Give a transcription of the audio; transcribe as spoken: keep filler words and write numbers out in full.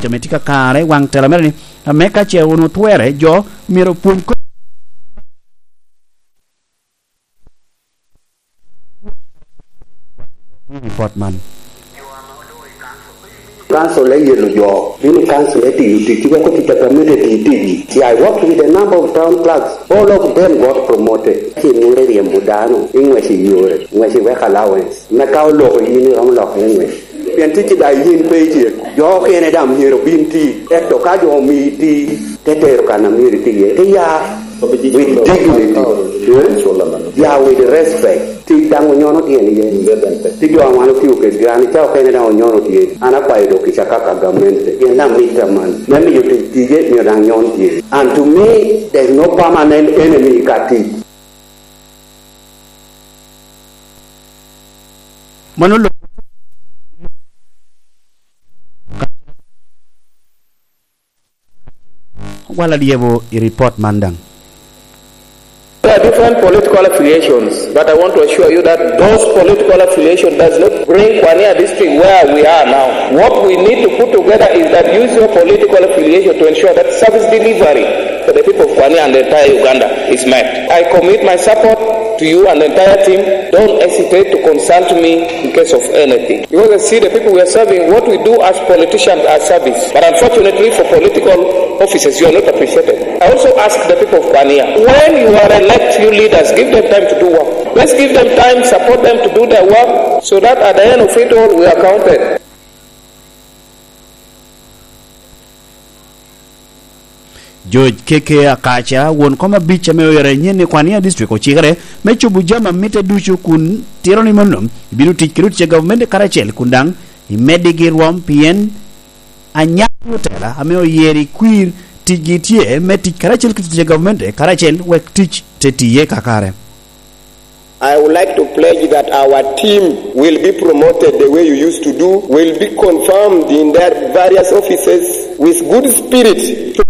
Ame tye kakare, waŋ tela mere ni, ame ka ce wun otwere, jo myero opwony ko-, report man. Council eyelo jo, bino council etiyo tic, weko tic a gamente etiyo ticgi. Yeah, I worked with a number of town clerks. All of them got promoted. Ci nwere ryembo dano i ŋwec i yore, ŋwec i work allowance. Me ka oloko yin, iromo loko i ŋwec. Pien ticci daŋ yin pe ityeko. Jo okene daŋ myero obin ti. Ento ka jo omii ti, te tero kan a myero iti iye. Te ya with dignity. Eh? Ya with respect. Tic daŋ onyono tyen iye. Ti jo a wan otio kedgi, an ca okene daŋ onyono tye. An akwayo dok kica kaka gamente. Pien daŋ mitte man. Me miyo tic tije, myero daŋ nyon tye. And to me, there's no permanent enemy ka tic. Mano lo-, wala dyebo i report man daŋ. There are different political affiliations, but I want to assure you that those political affiliation does not bring Kwania district where we are now. What we need to put together is that use your political affiliation to ensure that service delivery for the people of Kwania and the entire Uganda is met. I commit my support to you and the entire team. Don't hesitate to consult me in case of anything. Because I see the people we are serving, what we do as politicians are service. But unfortunately for political offices, you are not appreciated. I also ask the people of Kwania, when you are elect few leaders, give them time to do work. Let's give them time, support them to do their work, so that at the end of it all, we are counted. George Keke Akaca, won kom abic ame oyero anyen i Kwania District, ocikere me cobo jami a mitte ducu kun tiro ni mano ibino tic kede otic a gavumenti karacel kun daŋ imeddigi rwom, pien anyaka otela ame oyero i kwir ticgi tye me tic karacel ki otic a gavumenti karacel wek tic te tiye kakare. I would like to pledge that our team will be promoted the way you used to do, will be confirmed in their various offices with good spirit to